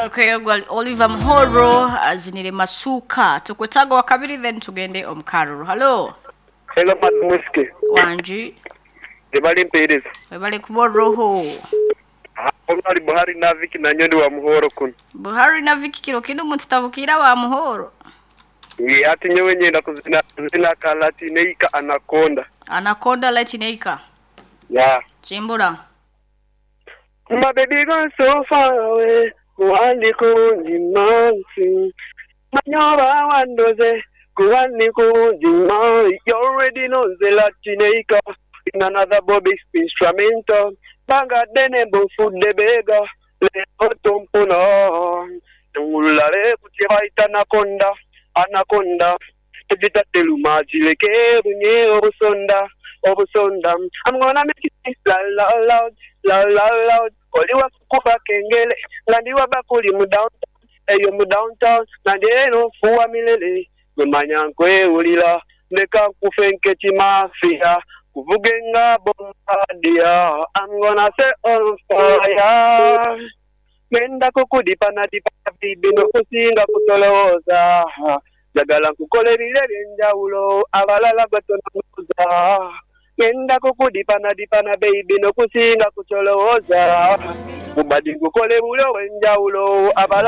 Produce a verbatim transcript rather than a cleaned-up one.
Okay, well, Oliver Muhoro azinire masuka tukwetaga wa kabiri then tugende omukaruru. Hello. Hello madam Whiskey. Wanji. Ebali mpeereza. Webale kuba roho. Omwali Buhari na Viki na nyondi wa Muhoro kuno. Buhari na Viki kiro kino mututavukira wa Muhoro. Ye ati nyewe nyenda kuzina kuzina kalatineika anaconda. Anaconda latineika. Yeah. Chimbura. My baby gone so far away. Kuwandi kunji mansi. Manyoba wandoze. Kuwandi kunji mansi. You already know the Latineika. In another Bobby instrumental. Banga dene bofu debega. Leo tompuna. Tungulale kutibaita anaconda. Anaconda. Tejita teluma jileke bunye obusonda. Obusonda. I'm gonna make it la la loud. La la loud. Oliwa kukuba kengele. Ngandiwa bakuli mu downtown. Eyo mu downtown. Nandi eno fuwa milele. Gwemanya nkwewulira. Ndeka nkufe nkeki mafia. Kuvuge nga bombardier. I'm gonna set on fire. Ngenda kukudipa na dipa bibi nokusinga kutolowooza. Njagala nkukole ebiro eby'enjawulo abalala gwe tononoza. Ngenda kukudipa na dipa na baby nokusinga kutolowooza. Mubadi nkukole buli obw'enjawulo abalala